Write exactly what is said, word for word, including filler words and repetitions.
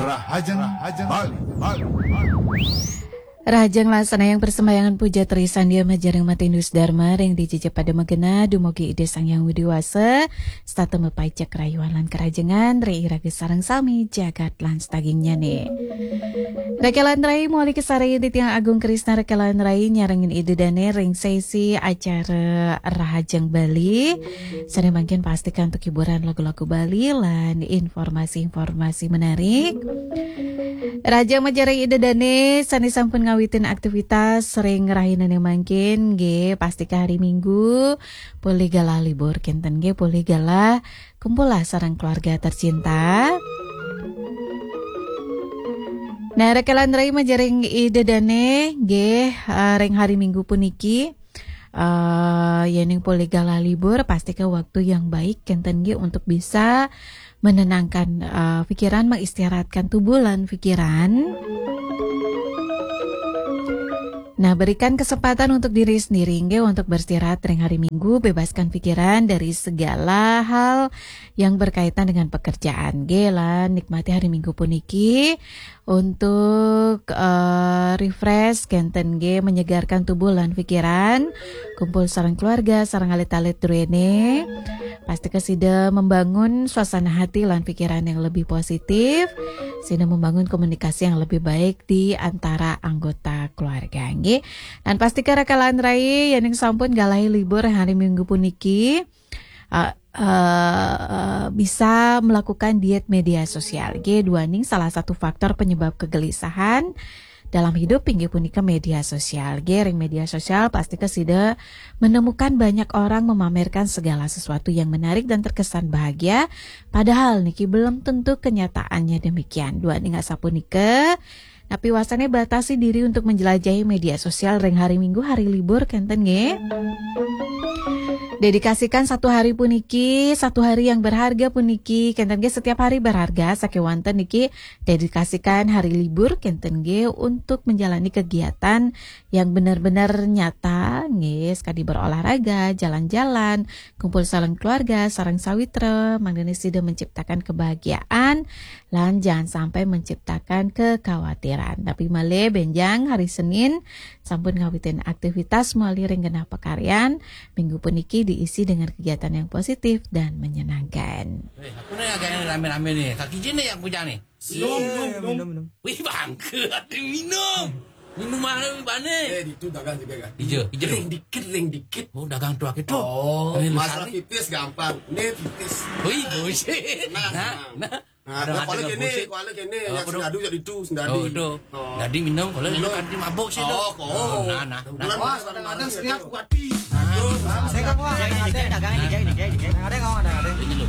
Rahajeng, Rahajeng Bali, Bali, Bali. Rahajeng laksana yang persembahyangan puja trisandya majaring matindus Dharma ring dijejep pada magena dumugi Ida Sang Hyang Widi Wasa, setata mapaica karayuan lan karahajengan ring iraga sareng sami jagat lan sadagingnyane. Rekelan rai mawali kasarengin titiang Agung Krisna rekelan rai nyarengin Ida Dane ring sesi acara Rahajeng Bali. Sane mangkin pastika antuk hiburan lagu-lagu Bali lan informasi-informasi menarik. Rahajeng majaring Ida Dane sane sampun ngawitin aktivitas ring rahinane mangkin nggih, pastika hari Minggu polih galah libur kenten nggih, polih galah kumpul lah sareng keluarga tercinta. Nah, rekelan rai majaring Ida Dane nggih, eh, ring hari Minggu puniki, eh, yening polih galah libur, pastika waktu yang baik kenten nggih untuk bisa menenangkan, eh, pikiran, mengistirahatkan tubuh lan pikiran. Nah, berikan kesempatan untuk diri sendiri nggih untuk beristirahat ring hari Minggu, bebaskan pikiran dari segala hal yang berkaitan dengan pekerjaan nggih, lan nikmati hari Minggu puniki untuk, eh, refresh kenten nggih, menyegarkan tubuh lan pikiran, kumpul sareng keluarga, sareng alit-alit druene. Pastika sida membangun suasana hati lan pikiran yang lebih positif, sida membangun komunikasi yang lebih baik di antara anggota keluarga nggih. Dan pastika rekelan rai yening sampun galahi libur hari Minggu puniki, eh, eh, bisa melakukan diet media sosial nggih, duaning salah satu faktor penyebab kegelisahan dalam hidup inggih punika media sosial. Nggih, ring media sosial pastika sida menemukan banyak orang memamerkan segala sesuatu yang menarik dan terkesan bahagia, padahal niki belum tentu kenyataannya demikian. Duaning asapunika, napi wasane batasi diri untuk menjelajahi media sosial ring hari Minggu, hari libur kenten nggih. Dedikasikan satu hari puniki, satu hari yang berharga puniki, kenten nggih, setiap hari berharga, sakewanten niki dedikasikan hari libur kenten nggih untuk menjalani kegiatan yang benar-benar nyata nggih, sekadi berolahraga, jalan-jalan, kumpul sareng keluarga, sareng sawitra, mangdane sida menciptakan kebahagiaan lan jangan sampai menciptakan kekhawatiran. Tapi malih benjang hari Senin sampun ngawitin aktivitas mawali ring genah pakaryan, Minggu puniki diisi dengan kegiatan yang positif dan menyenangkan. Eh, aku nih agak rame-rame nih. Kaki Jin nih yang punya nih. Minum, minum, minum. Wih, bangke, ada minum. Minum mana, Bane? Eh, itu dagang juga kan? Ijo, ijo. Ring dikit, ring dikit. Oh, dagang tuak itu. Oh, ini masalah pipis gampang. Ini pipis. Wih, bullshit. Nah, nah, nah. Nah, kalau kene, kalau kene, sendadu jadi itu, sendadu. Oh, itu. Jadi minum, kalau itu kan mabuk sih itu. Oh, nah, nah. Bulan puasa kadang-kadang setiap kuati. Saya kan wah, ada dagang ini, ini, ini. Ada kau, ada, ada. Ini loh.